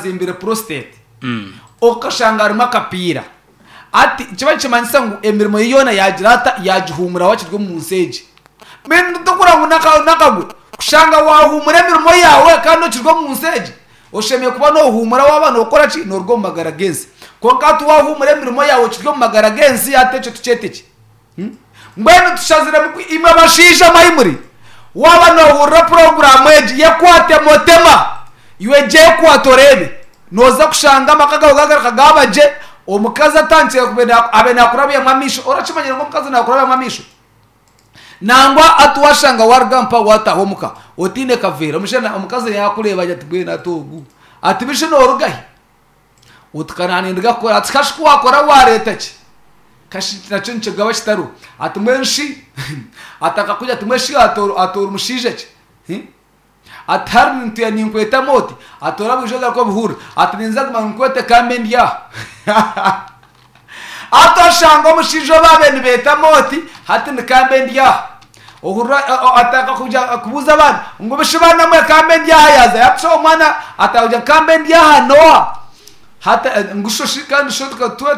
Azimbire prostate okashanga harimu akapiira ati nikiba nikimanyisa ngu emirimo ye yoona yagira ata yagihuumuraho akiri omu nsi egi. Mbwenu tokureba ngu n'akagwe kushanga wahuumura emirimo yaawe kandi okiri omu nsi egi? Oshemereire kuba nohuumura waaba nokora ki? Noruga omu magara g'ensi. Kwonka hati wahuumura emirimo yaawe okiri omu magara g'ensi hati ekyo tukyete ki? Mbwenu tushaziremu ku imwe bashaija mwe ahi muri, waaba noohurira puroguraamu egi, yekwate motema. Iwe gyekwate oreebe. Nooza kushanga amaka gaawe gaagaruka gaaba gye, omukazi atandikire kuba abe naakurabyamu amaisho. Orakimanyire ngu omukazi naakurabyamu amaisho? Nangwa hati waashanga waaruga mpaho waataaha omuka otaine kaveera, omushaija omukazi yaakureeba agira ati mbwenu hati ogu ati bishi nooruga hi? Oti ka naanindiga kukora. Ati kashi ku waakora waareeta ki? Kashi nakyo nikigaba kitariho. Ati mbwenu shi ati akakugira ati mbwenu shi ati ori mushaija ki? Ati hariya nituya ninkwetamu oti? Ati oraba oija ogaruke obihurire. Ati ninza kuguma ninkwete ka mbe ndi aha. Hati oshanga omushaija ou baabaire nibeetamu oti, hati ni ka mbe ndi aha. Ohurira atandika kugira kubuuza abaana ngu bishi baana mwe ka mbe ndi aha yaaza yaakusha omwana atandika kugira ngu ka mbe ndi aha n'oha? Hati ngu sho shi kandi sho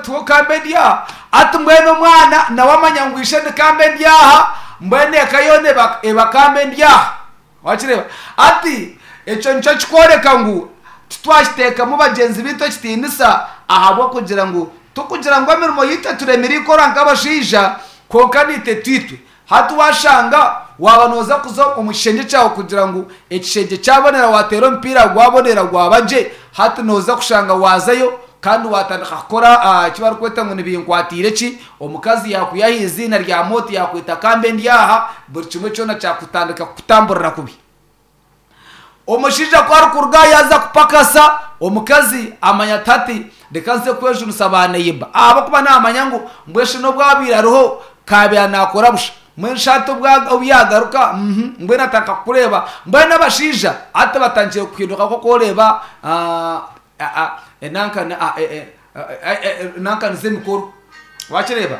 tiwe ka mbe ndi aha? Hati mbwenu omwana nawe amanya ngu ishe ni ka mbe ndi aha, mbwenu eka yoona eba eba ka mbe ndi aha. Wakireeba? Hati ekyo nikyo kikworeka ngu titwakiteekamu bagyenzi baitu ekitiinisa ahabw'okugira ngu tikugira ngu emirimo yaitu eturemire ikora nk'abashaija, kwonka naitwe twitwe. Hati waashanga waaba nooza kuza omu kishengye kyawe kugira ngu ekishengye kyabonera waateera omupiira gwabonera gwaba gye, hati nooza kushanga waazayo kandi waatandika kukora eki barikweta ngu nibinkwatiire ki, omukazi yaakwiha aha iziina rya mooti yaakweta kambe ndi aha, buri kimwe kyona kyakutandika kukutamburira kubi. Omushaija ku arikuruga aha yaaza kupakasa, omukazi amanya ati hati reka nze kwejunisa baaneiba ahabw'okuba naamanya ngu mbwenu shi n'obu abaire ariho kaabaire naakora busha. Mbwenu shi hati obu yaagaruka mbwenu atandika kukureeba. Mbwenu abashaija hati batandikire kuhinduka nk'oku oreeba nankani z'emikoro. Waakireeba?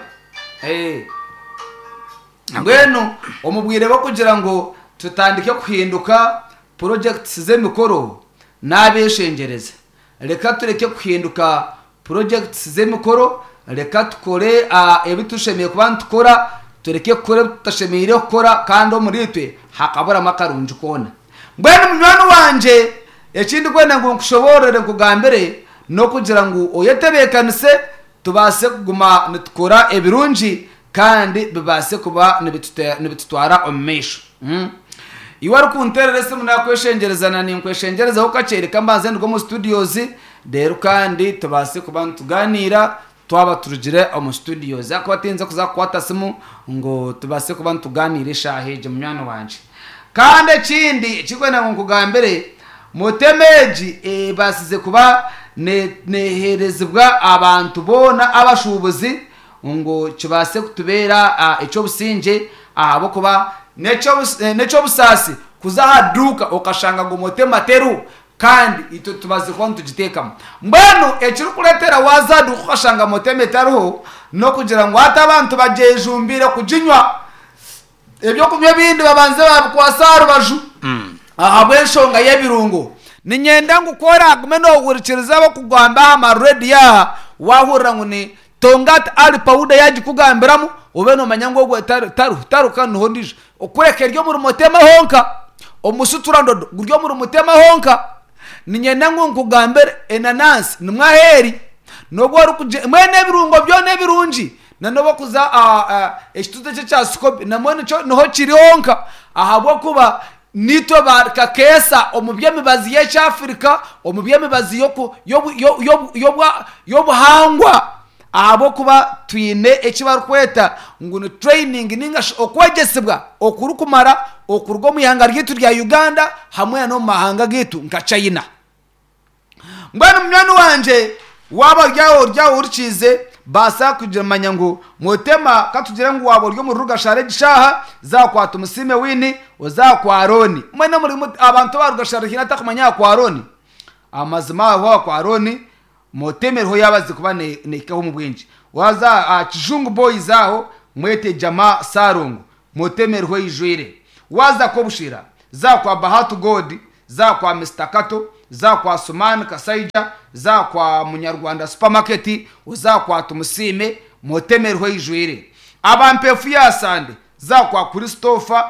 Mbwenu omu bwire bw'okugira ngu tutandike kuhinduka purojekiti z'emikoro n'abeshengyereza, reka tureke kuhinduka purojekiti z'emikoro, reka tukore ebi tushemereire kuba nitukora, tureke kukora ebi tutashemereire kukora kandi omuriitwe hakaburamu akarungi koona. Mbwenu munywani wangye eki ndikwenda ngu nkushoboorore nkugambire n'okugira ngu oyetebeekanise tubaase kuguma nitukora ebirungi kandi bibaase kuba nibitutwara omu maisho. Iwe orikunteerera esimu naakweshengyereza na ninkweshengyerezaho kakye reka mbanze nduge omu studios reero kandi tubaase kuba nitugaaniira twaba turugire omu studios. Ahakuba tiyinza kuza kukwata simu ngu tubaase kuba nitugaaniira eshaaha egi munywani wangye. Kandi ekindi ekirikwenda ngu nkugambire, Motema egi ebaasize kuba neeheerezibwa abantu boona abashuubuzi ngu kibaase kutubeera eky'obusingye ahabw'okuba n'eky'obusaasi kuza aha duuka okashanga ngu Motema teriho kandi itwe tubaziire kuba nitugiteekamu. Mbwenu ekirikureetera waaza aha duuka okashanga Motema etariho n'okugira ngu hati abantu bagyejumbiire kuginywa. Eby'okunywa ebindi babanze baabikwasa aha rubaju ahabw'enshonga y'ebirungo. Niinyenda ngu ku oraagume noohurikiriza ab'okugamba aha mareediyo aha, waahurira ngu ni Tongat Ali Powder yaagikugambiramu, obe noomanya ngu ogwo tariho, tariho kandi niho ondiijo. Kureka eri omuri Mutema honka, omusutura ndodo guri omuri Mutema honka. Niinyenda ngu nkugambire enanansi nimwo ahu eri, n'obu orikugira mbwenu ebirungo byona ebirungi Na n'obu okuza aha ekituuti eki ekya Sikobi namwo nikyo niho kiri honka ahabw'okuba naitwe ba kakeesa omu by'emibazi y'ekyafirika, omu by'emibazi y'oku y'obu y'obu y'obwa y'obuhangwa ahabw'okuba twine eki barikweta ngu ni training ninga shi okwegyesibwa okurikumara okuruga omu ihanga ryaitu rya Uganda hamwe na n'omu mahanga gaitu nka China. Mbwenu munywani wangye, waaba ori aho ori aho ohurikiize, baasa kumanya ngu Mutema, ka tugire ngu waaba ori omuri Rugashara egi shaaha, za kwa Tumusiime Winnie, oze aha kwa Arooni. Mbwenu omuri abantu aba Rugashara haine atakumanya aha kwa Arooni? Amazima aho aha kwa Arooni, Mutema eriho yaabazize kuba neehikaho omu bwingi. Waaza aha Kijungu Boys aho, mwete Jamaa Ssalongo, Mutema eriho eijwire. Waaza Kobushera, za kwa Bahati God, za kwa Mister Kato, za kwa Sumani Kasaija, za kwa Munyarwanda Supermarket, oza kwa Tumusiime, Motema eriho eijwire. Aba Mpeefu ya Sande, za kwa Christopher,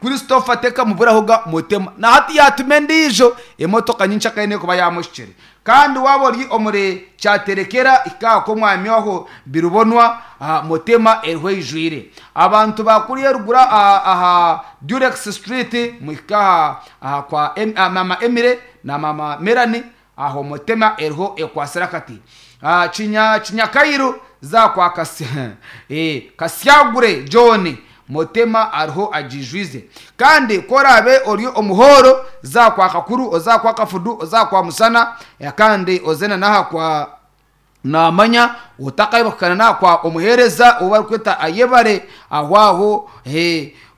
Christopher tekamuburahoga Motema. Na hati yaatuma endiijo emotoka nyencakare n'erikuba yaamuhikire. Kandi waaba ori omuri Kyaterekera, hika aha kw'omwami aho Birubonwa, Motema eriho eijwire. Abantu ba kuriya eruguru aha Durex Street, muhike aha kwa Maama Emily na Maama Melanie, aho Motema eriho ekwatsire akati. Kinyakairu, za kwa Kasyagure John, Motema ariho agiijwize. Kandi ku oraabe ori omu hooro, za kwa Kakuru, oze aha kwa Kafudu, oze aha kwa Musana, kandi oze na n'aha kwa Naamanya, otakaayebwa n'aha kwa Omuheereza ou barikweta Ayebare, aho aho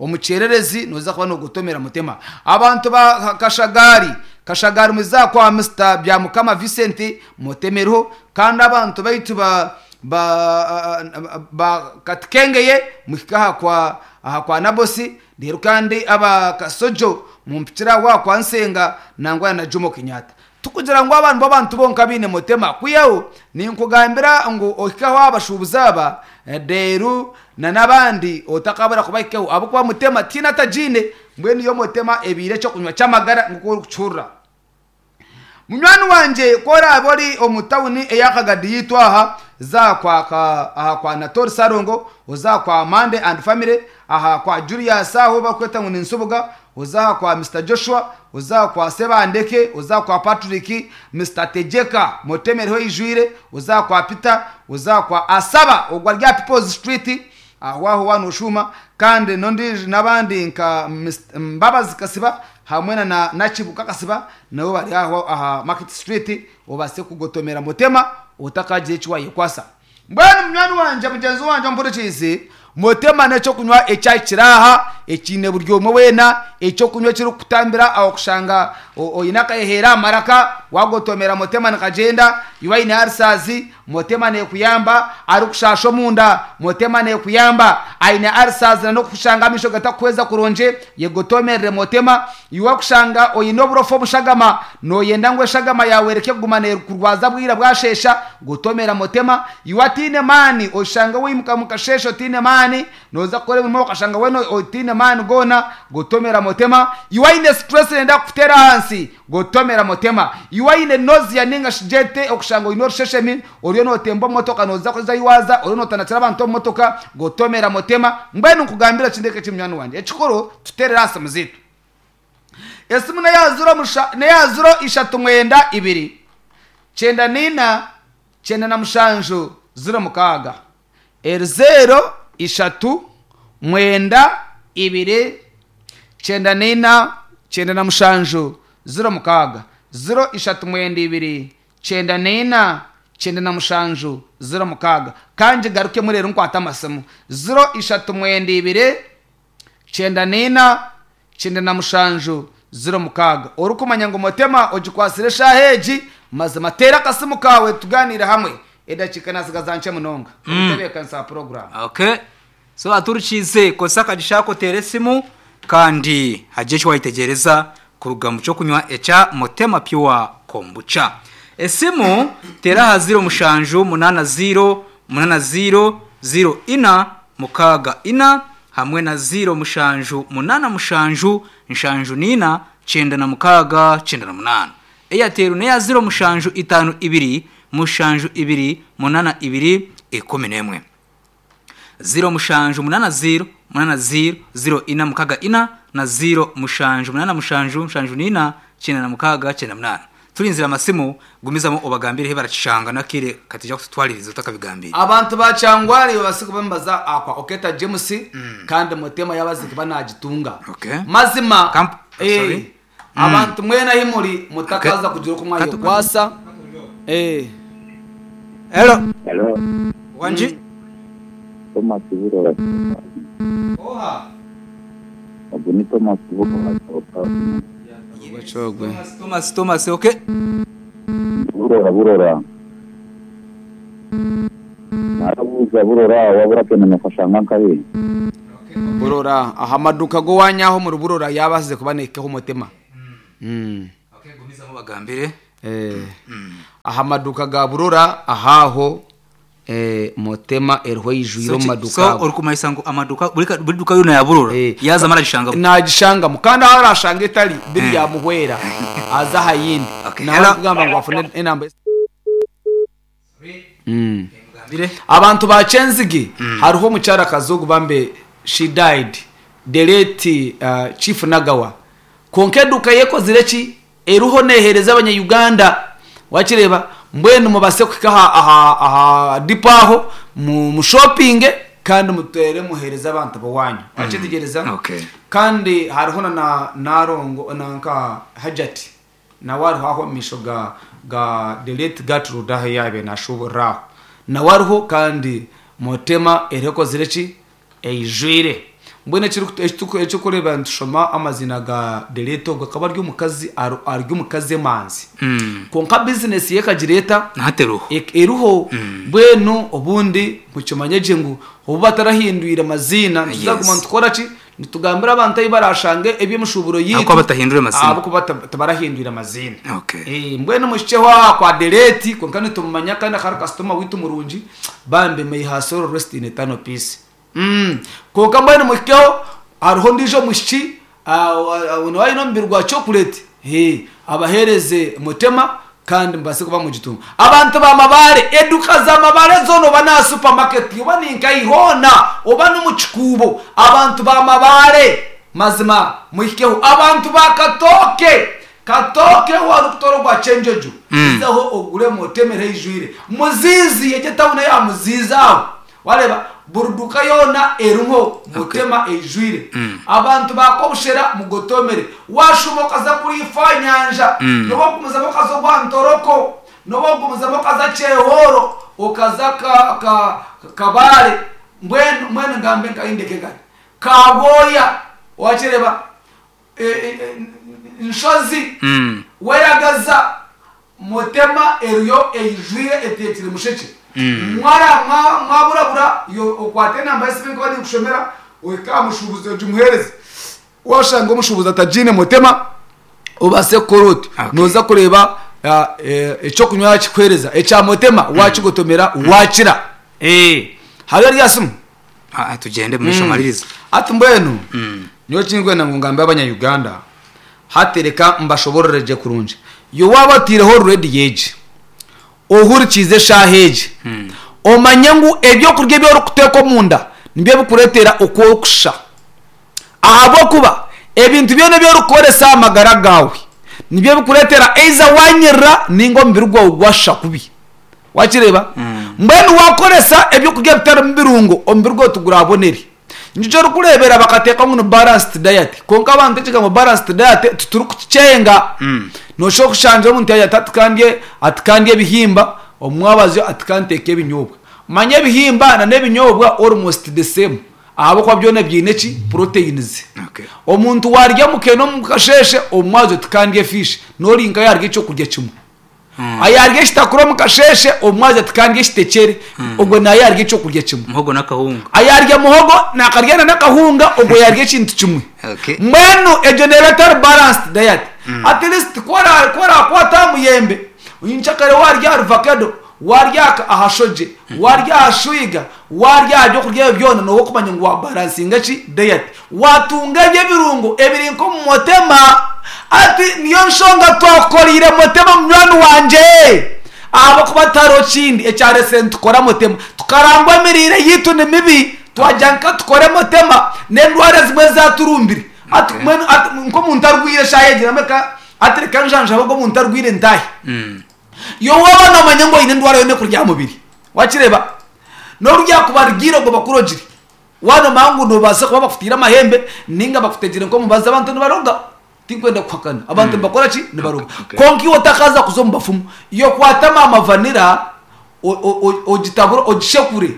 omu kyererezi nooza kuba noogotomera Mutema. Abantu ba Kashagaari, Kashagaari muze aha kwa Mister Byamukama Vincent, Mutema eriho, kandi abantu baitu ba ba ba Katikengeye muhike aha kwa aha kwa Nabosi, reero kandi aba Kasojo mumpikire aho aha kwa Nsenga nangwa na Jomo Kenyatta. Tikugira ngu aba nibo bantu bonka abaine Mutema, kwihaho ninkugambira ngu ohike aho aha bashuubuzi aba reero na n'abandi otakabura kubahikaho ahabw'okuba Mutema tihaine atagiine, mbwenu yo Mutema ebaire eky'okunywa ky'amagara nk'oku orikukihurira. Munywani wangye ku oraabe ori omu tawuni eya Kagadi yaitu aha, za kwa aha kwa Natori Sarongo, oze aha kwa Mande and Family, aha kwa Julius aho ou barikweta ngu ni Nsubuga, oze aha kwa Mister Joshua, oze aha kwa Sebandeke, oze aha kwa Patrick, Mister Tegyeka, Motema eriho eijwire, oze aha kwa Peter, oze aha kwa Asaba ogwo ari aha People's Street, Aho aho waaba nooshuuma kandi n'ondiijo n'abandi nka Mbabazi Kasiba hamwe na Nakibuka Kasiba nabo bari aho aha Market Street obaase kugotomera Mutema otakagira eki waayekwasa. Mbwenu munywani wangye mugyenzi wangye ompurikiize, Mutema n'eky'okunywa ekyahikire aha ekiine buri omwe weena, eky'okunywa ekirikukutambira aho kushanga oine akaheheera aha maraka, waagotomera Mutema nikagyenda, iwe aine ulcers, Motema nekuyamba, arikushaasha omunda, Motema nekuyamba, aine ulcers na nokushanga amaisho gatakuhweza kurungi, yegotomerere Motema. Iwe kushanga oine oburofa omushagama, noyenda ngu eshagama yaawe ereke kuguma nekurwaza bwira bwasheesha, gotomera Motema. Iwe ataine maani, oshanga waimuka mukasheeshe otaine maani, noza kukora emirimo okashanga weena otaine maani goona, gotomera Motema. Iwe aine stress neyenda kukuteera ahansi, Gotomera mutema. Iwe aine nausea ninga shi gyete okushanga oine orusheshemi, oriyo notemba omu motoka noza kuza ahi waza, oriyo notanakira abantu omu motoka, gotomera mutema. Mbwenu nkugambire ekindi eki munywani wangye, ekikuru tuterere aha simu zaitu. Esimu neya ziro musha neya ziro ishatu mwenda ibiri kyenda naina 97 06. Eri zeero ishatu mwenda ibiri 94 97 06, ziro ishatu mwenda ibiri 94 97 06. Ka ngigarukemu reero nkwate amasimu. Ziro ishatu mwenda ibiri 94 97 06. Orikumanya ngu Mutema ogikwatsire eshaaha egi, mazima teera akasimu kaawe tugaaniire hamwe. Edakiika naatsigaza nkye munonga omutebeekanisa wa puroguraamu. Okay. So aturikiize kozesa akagisha ako oteere esimu kandi hagire eki waayetegyereza kuruga mu ky'okunywa ekya Mutema Pure Kombucha. Esimu teera aha ziiro mushanju munaana ziiro munaana ziiro ziiro ina mukaaga ina hamwe na ziiro mushanju munaana mushanju nshanju naina 96 98. Airtel n'eya ziiro mushanju itaano ibiri mushanju ibiri munaana ibiri 11. Ziiro mushanju munaana ziiro munaana ziiro ziiro ina mukaga ina na ziiro mushanju munaana mushanju nshanju naina 96 98. Turinzire amasimu, gumizamu obagambire ahi barakishanga n'akaire kataija kututwaririza otakabigambiire. Abantu ba Kyangwali babaase kuba nibaza aha kwa Oketa James kandi Mutema yabaze kuba nagitunga. Okay. Mazima Kamp- eh, sorry. abantu mwena ahi muri mutakaza kugira oku mwayekwasa. Eh. Hello. Hello, Wangi. Thomas Burora. Oha. Ogu ni Thomas Burora. Ogwe. Thomas, Thomas, Thomas, okay. Burora, Burora. Narabuuza Burora wabura kwenda okashanga nkahi? Burora aha maduuka g'owaanyu aho omuri Burora yaabaasize kuba naihikaho omutima. Gumizamu obagambire. Eh, aha maduuka ga Burora ahaaho eh, Motema eriho eijwire omu maduuka So ago. orikumanyisa ngu amaduuka buri ka- buri duuka yoona ya Burora Eh. yaazamu aragishangamu. Nagishangamu kandi ahu arashanga etari biryamuhwera aze aha yindi. Okay, Nawe hello. arikugamba ngu afune enamba. Mugambire. Abantu ba Kyenzigi hariho omukyarakazi ogu bambe she died the late uh, Chief Nagawa kwonka eduuka ye ekozire ki eriho neeheereza abanya-Uganda wakireeba mbwenu mubase kuhika aha, aha, aha dipo aho mu, mushopinge kandi mutere muheereze abantu b'owaanyu wakyetegyereza Okay. kandi hariho na na Narongo nanka Hajati Nawe ariho aho omu maisho ga ga the late Gertrude ahu yaabaire naashuuburira aho. Nawe ariho kandi Motema eriho ekozire ki? Eijwire. Mbwenu ekiriku ekituku ekirikureeba nitushoma amaziina ga the late ogwo akaba ari omukazi ari ari omukazi emanzi. Kwonka bizinesi ye ekagira eta? Na hati eriho. Ek eriho. Mbwenu obundi mukimanye gye ngu obu batarahindwire maziina nituza kuguma Yes. nitukora ki? Nitugambira abantu ahu baraashange eby'emishuuburo yaitu Ahabw'okuba batahindwire maziina. ahabw'okuba tibarahindwire maziina. Okay. Eh, mbwenu muhikyeho aha kwa Dereeti kwonka nitumumanya kandi akaba ari kasitoma waitu murungi bambi may her soul rest in eternal peace. Mm. Kwonka mbwenu muhikeho hariho ondiijo omwishiki ah, wa- nawe aine omubiri gwa chocolate eh, abaheereze Mutema Kandi mubaase kuba mugitunga. Abantu ba Mabare, eduka za Mabare zoona oba n'aha supermarket oba ni nkahi hoona oba n'omu kikuubo, abantu ba Mabare mazima muhikeho. Abantu ba Katooke, Katooke waaba orikutoora ogwa Kyenjojo, izaho oguremu otemere eijwire. Muziizi, egyo etawuni eya Muziizi aho Wareeba, buri duuka yoona eriho Mutema eijwire. Abantu ba Kobushera mugotomere. Waashuuma okaza kuriifa aha nyanja, n'obu okugumizamu okaza ogwa Ntoroko, n'obu okugumizamu okaza Kyehooro, okaza ka, ka, Kabale, mbwenu, mbwenu ngambe nkahi ndeke nkahi? Kabwoya, waakireeba, e, e, e, Nshozi, Weragaza, Mutema eriyo eijwire eteekire mushekye. Mwara mwaburabura yo okwate enamba y'esimu nkuba ninkushomera ohike aha mushuubuzi ogimuheereze. Washanga omushuubuzi atagiine Mutema obaase kukora oti Okay. nooza kureeba eky'okunywa yakikuheereza ekya Mutema wakigotomera wakira. Hariyo ori aha simu? Ah, tugyende omu maisho omaririze. Hati mbwenu nyowe ekindikwenda ngu ngambe abanya Uganda hati reka mbashoborore gye kurungi. Iwe waaba otaireho rediyo egi, ohurikiize eshaaha egi, omanye ngu ebyokurya ebi orikuteeka omunda nibyo birikureetera oku orikushusha. Ahabw'okuba ebintu byona ebi orikukoresa aha magara gaawe nibyo birikureetera either waanyirira nainga omubiri gwawe gwashusha kubi. Wakireeba? Mbwenu waakoresa ebyokurya bitarimu birungo, omubiri gwawe tigurabonere. Nikyo orikureebera bakateeka ngu ni balanced diet. Kwonka abantu ekigambo balanced diet titurikukikyenga. Nooshusha okushangira omuntu yaagira ati hati ka ndye, hati ka ndye ebihimba, omu mwabazyo hati ka nteeke ebinyobwa. Manya ebihimba na n'ebinyobwa almost the same ahabw'okuba byona biine ki? Proteins. Okay. Omuntu waarya mukene omu kasheeshe, omu mwabazyo ti ka ndye fish, n'ori nka yaarya ekyokurya kimwe. Ayaarya ekitakuri omu kasheeshe, omu mwabazyo ati ka ndye ekitekyere, ogwo nawe yaarya ekyokurya kimwe. Muhogo n'akahunga. Ayaarya muhogo naakarya na n'akahunga, ogwo yaarya ekintu kimwe. Okay. Mbwenu egyo neeba etari balanced diet. At least ku ora- ku oraakwata aha muyembe, nyenkyakare waarya ahari vakedo, waarya aha aha shogye, waarya aha shwiga, waarya aha byokurya ebyo byona, nooba orikumanya ngu waabalansinga ki? Diet. Waatunga ebyo ebirungo ebiri nk'omu motema. Ati, Niyo nshonga twakukoreire Motema munywani wangye, ahabw'okuba tihariho kindi ekyareetsire nitukora Motema. Tukarangwa emiriire yaitu ni mibi, twagira ngu ka tukore Motema, n'endwara ezimwe ezaturumbire. Ati mbwenu ati nk'omuntu arwaire eshaaha egi nambwenu ka ati reka njanjabe ogu omuntu arwaire ntaahe. Iwe waaba noomanya ngu oine endwara yoona ekurya aha mubiri, waakireeba? N'obu ryakuba rigiire ogwo bakurogire. Waaba noomanya ngu noobaasa kuba bakutaire amahembe nainga bakutegire nk'omubazi, abantu nibaroga. Tinkwenda kuhakana. Abantu nibakora ki? Nibaroga. Kwonka iwe otakaaza kuza omu bafumu, iwe kwata maama vanira ogitabure, ogishekure.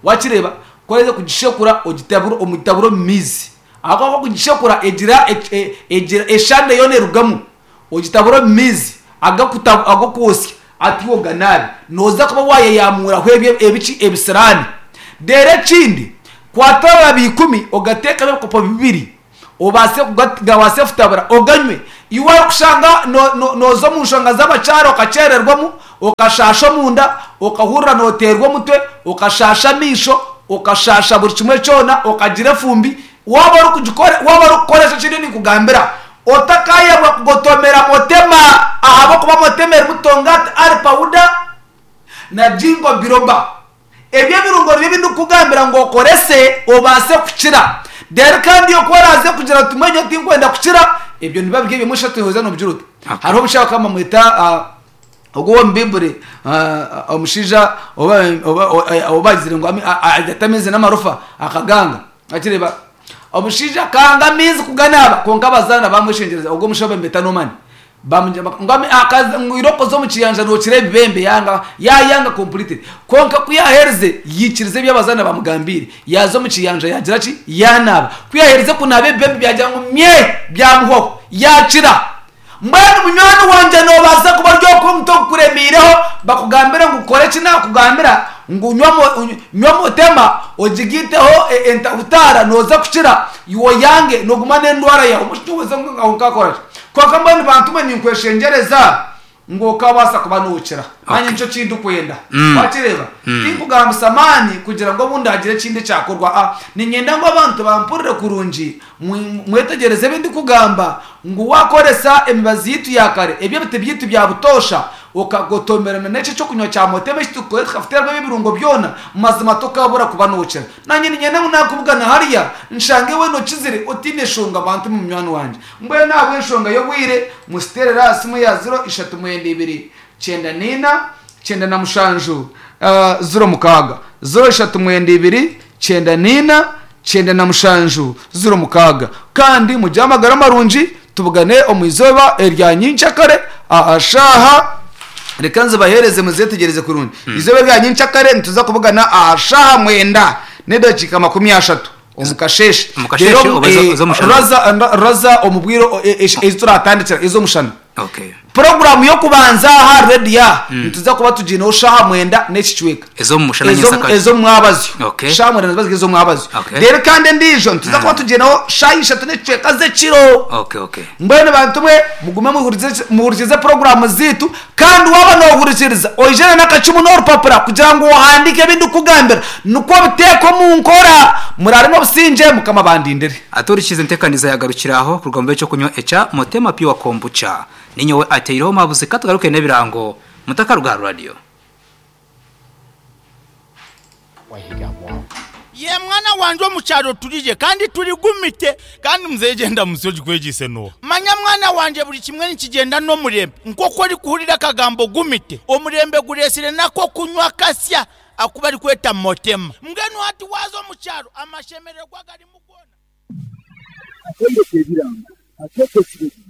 Waakireeba? Ku oraheza kugishekura, ogitabure omutabure omu maizi. Ahabw'okuba kugishekura egira egira eshande yoona erugamu. Ogitabure omu maizi ag'okwosya, ati iwe oganaabe. Nooza kuba waayeyamuuraho ebyo ebiki? Ebisiraani. Reero ekindi, kwata amababi ikumi ogateekemu ebikopo bibiri, obaase kuga, gabaase kutabura, oganywe. Iwe orikushanga nooza omu nshonga z'abakyara okakyererwamu, okashaasha omunda, okahurira nooteerwa omutwe, okashaasha amaisho, okashaasha buri kimwe kyona, okagira efumbi, waaba orikugikora, waaba orikukoresa eki ndiyo ninkugambira, otakaayebwa kugotomera motema ahabw'okuba motema erimu tongati ari pawuda na jingo biroba. Ebyo ebirungo nibyo ebi ndikukugambira ngu okorese obaase kukira. Reero kandi oku oraaze kugira oti mbwenu nyowe tinkwenda kukira, ebyo nibiba biri ebimwe shatu oza noobigira ota. Hariho omushaija bakaba bamweta ogwo ow'omu Baiburi, omushaija ou baagizire ngu ate amaizi n'amarofa akaganga. Wakireeba? Omushaija akanga amaizi kuganaaba kwonka abazaana baamweshengyereza, ogwo omushaija ou bamweta Nomani. Bamugira ngu akaza ngu irooko oze omu kiyanja nookira ebibembe yanga yaayanga completely. Kwonka ku yaaherize yaikiriza ebi abazaana baamugambiire, yaaza omu kiyanja yaagira ki? Yaanaaba. Ku yaaherize kunaaba ebibembe byagira ngu myee byamuhwaho, yaakira. Mbwenu munywani wangye noobaasa kuba ori okwo omutwe gukuremiireho bakugambire ngu kora eki naakugambira ngu nywa motema ogigaiteho entahutaara nooza kukira, iwe oyange nooguma n'endwara yaawe. Omushaija ngu aho nkaakora ki? Kwonka mbwenu bantu mwe ninkweshengyereza ngu okabaasa kuba nookira. Naanye nikyo ki ndikwenda. Wakireeba? Tinkugambisa maani kugira ngu obundi hagire ekindi ekyakorwa. A Niinyenda ngu abantu bampurire kurungi, mwetegyereze ebi ndikugamba, ngu waakoresa emibazi yaitu ya kare, ebi ebiti byaitu bya butoosha, okagotomerana n'eki eky'okunywa kya motema eki turikukora tukakuteeramu ebi ebirungo byona, mazima tokaabura kuba nookira. Naanye niinyenda ngu naakubugana hariya, nshange weena okizire otaine shonga bantu mwe munywani wangye. Mbwenu ahabw'enshonga y'obwire, musiteerere aha simu ya ziro ishatu mwenda ibiri, kyenda naina, 97, 06. 0 3 9 94 97 06. Kandi mugire amagara marungi, tubugane omu izooba erya nyenkyakare aha shaaha, reka nzibaheereze muzeetegyereze kurungi. Izooba erya nyenkyakare nituza kubugana aha shaaha mwenda n'edakiika makumi ashatu omu kasheeshe. Omu kasheeshe Reero, oba ez'omushana? Raza omu bwire ezi turatandikira ez'omushana. Okay. Puroguraamu y'okubanza aha rediyo aha nituza kuba tugiineho shaaha mwenda n'ekicweka. Ez'omu mushana nyentsakare. Ez'omu mwabazyo. Okay. Shaaha mwenda niziba ziri ez'omwabazyo. Okay. Reero kandi endiijo nituza kuba tugiineho shaaha ishatu n'ekicweka z'ekiro. Okay, okay. Mbwenu bantu mwe mugume muhurikize puroguraamu zaitu kandi waaba noohurikiriza oije na n'akacumu n'orupapura kugira ngu ohandiike ebi ndikukugambira nikwo obiteeke omu nkora. Muraare n'obusingye Mukama abandindire. Aturikize entekaniza yagarukira aho kuruga omu b'ekyokunywa ekya Motema Pure Kombucha. Ninyowe ateireho omuhabuzi katugaruke n'ebirango mutakaruga aha radio. Ye mwana wangye omu kyaro turigye kandi turigumite. Kandi muzeeyi gyenda munsi ogikwegyise n'oha? Manya mwana wangye buri kimwe nikigyenda n'omurembe. Nk'oku orikuhurira akagambo gumite, omurembe gureetsire n'ak'okunywa akasya aku barikweta Motema. Mbwenu hati waaza omu kyaro amashemererwa garimu goona. Akaire k'ebirango akeekekire gye.